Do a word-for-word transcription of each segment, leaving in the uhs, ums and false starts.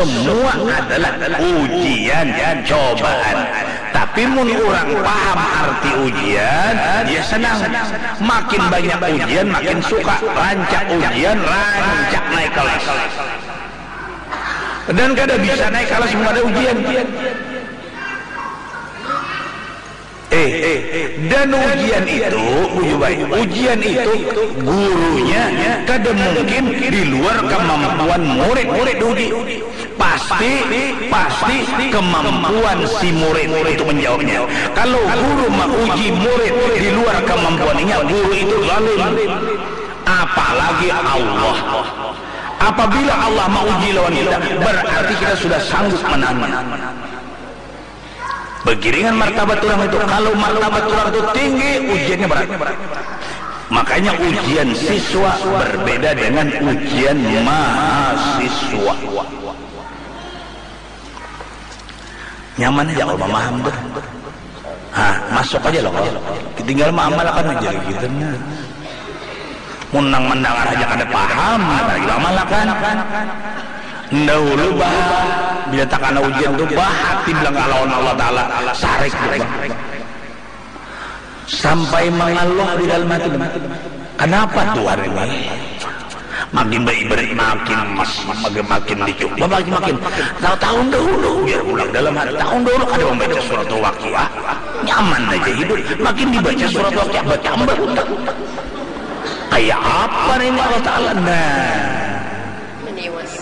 Semua adalah ujian, cobaan. Tapi mun urang paham arti ujian, dia senang. Makin banyak ujian, makin suka. Rancak ujian, rancak naik kelas. Dan kada bisa naik kelas mun ada ujian. Eh, dan ujian itu, ujian itu gurunya kada mungkin di luar kemampuan murid diuji. Pasti, pasti kemampuan si murid itu menjawabnya. Kalau guru menguji murid di luar kemampuannya, guru itu zalim. Apalagi Allah. Apabila Allah menguji lawan kita, berarti kita sudah sanggup menangnya. Begiringan martabat orang itu, kalau martabat orang itu tinggi, ujiannya berat. Makanya ujian siswa berbeda dengan ujian mahasiswa. Nyaman aja kalau memaham tuh. Ha, masuk aja loh. Tinggal mengamalkan aja gitu nah. Mun nang mendengar aja kada paham, apalagi mengamalkan. Dahulu bah, bila takana ujian tuh bah, hati bilang lawan Allah Ta'ala, sarik tuh bah. Sampai mengeluh di dalam hati. Kenapa Tuhan ini? Makin beribadah, makin mas, makin, makin dicoba, makin, makin. Nah, tahun dahulu, biar pulang dalam hati. Tahun dahulu kada membaca surat Waqiah, nyaman aja hidup. Makin dibaca surat Waqiah, bertambah hutang. Kayak apa nih ini Allah Ta'ala? Nah. Meniwas.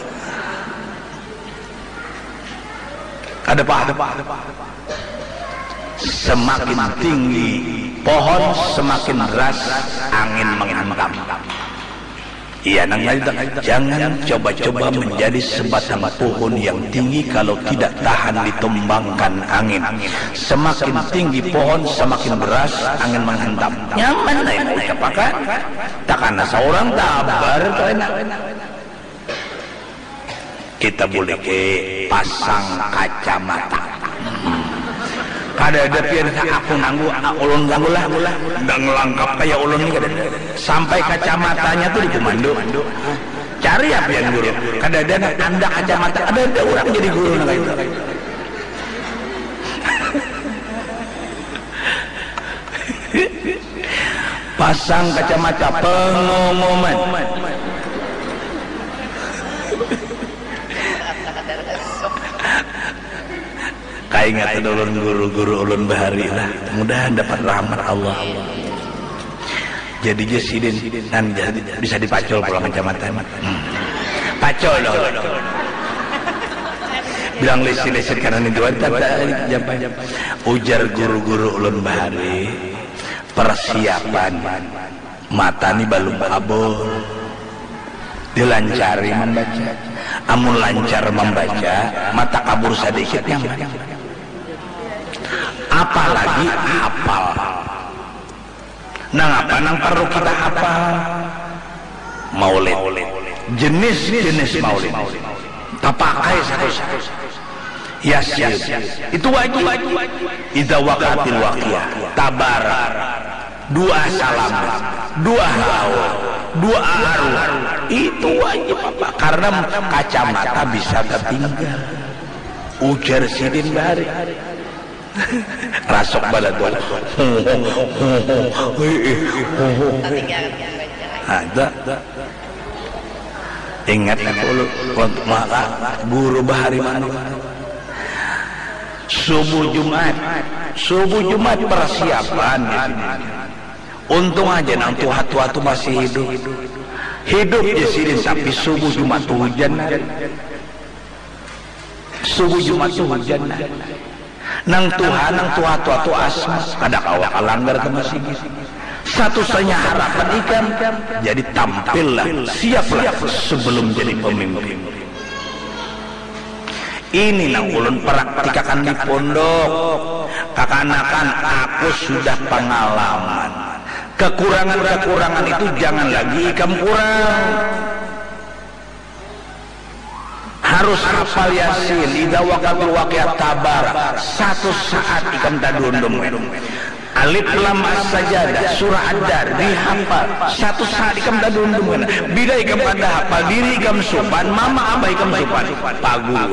Ada apa? Semakin tinggi pohon, semakin deras angin menghantam. Iya, nang ngaji, jangan coba-coba menjadi sebatang pohon yang tinggi kalau tidak tahan ditumbangkan angin. Semakin tinggi pohon, semakin deras angin menghantam. Nyaman lah yang ucapakan. Takana seorang tabar tu enak. Kita boleh ke pasang kacamata. Kada ada pian sa aku nanggu, ah, ulun nanggu lah. Dang langkap kaya ulun ni kada ada. Sampai kacamatanya tu dikumando. Cari ya pian guru. Kada ada nang andak kacamata. Kada ada urang jadi guru nang kaya itu. Pasang kacamata pengumuman. Kaingatan ulun guru-guru ulun bahari lah. Mudahan dapat rahmat Allah. Jadi ja sidin, nah, bisa dipacul pulang kacamata. Hmm. Pacul dah ulun. Bilang lisin-lisin karena itu ada jampai. Ujar guru-guru ulun bahari, persiapan mata ni balum kabur. Dilancari membaca. Amun lancar membaca, mata kabur sedikit nyaman. Apalagi hafal. Nang apa nang perlu kita hafal? Maulid. Jenis-jenis maulid. Tapakai satu-satu. Yasin. Itu wajib. Idza waqatil waqiah. Tabarak. Doa salam. Doa haul. Doa arwah. Itu wajib apa? Karena kacamata bisa tertinggal. Ujar sidin bari. Rasuk badan tu. Ada. Ingat aku lu, maka guru bahari mana. Subuh Jumat. Subuh Jumat persiapan. Untung aja nang tua-tua tu masih hidup. Hidup di sini sampai subuh Jumat tu hujan. Subuh Jumat tu hujan nah. Nang tuha, nang tuha-tuha tu asma, kada kawa kalanggar ke masjid. Satu-satunya harapan ikam, jadi tampillah, siaplah sebelum jadi pemimpin. Ini nang ulun praktikakan di pondok. Kakanakan, aku sudah pengalaman. Kekurangan-kekurangan itu jangan lagi ikam kurang. Harus hafal Yasin, idza waqatil waqiah tabar. Satu saat ikam tadundum. Alif Lam As-Sajadah, Surah Ad-Dar, dihafal. Satu saat ikam tadundum kena. Bila ikam kada hafal, diri ikam supan, mama abah ikam supan. Paguruan.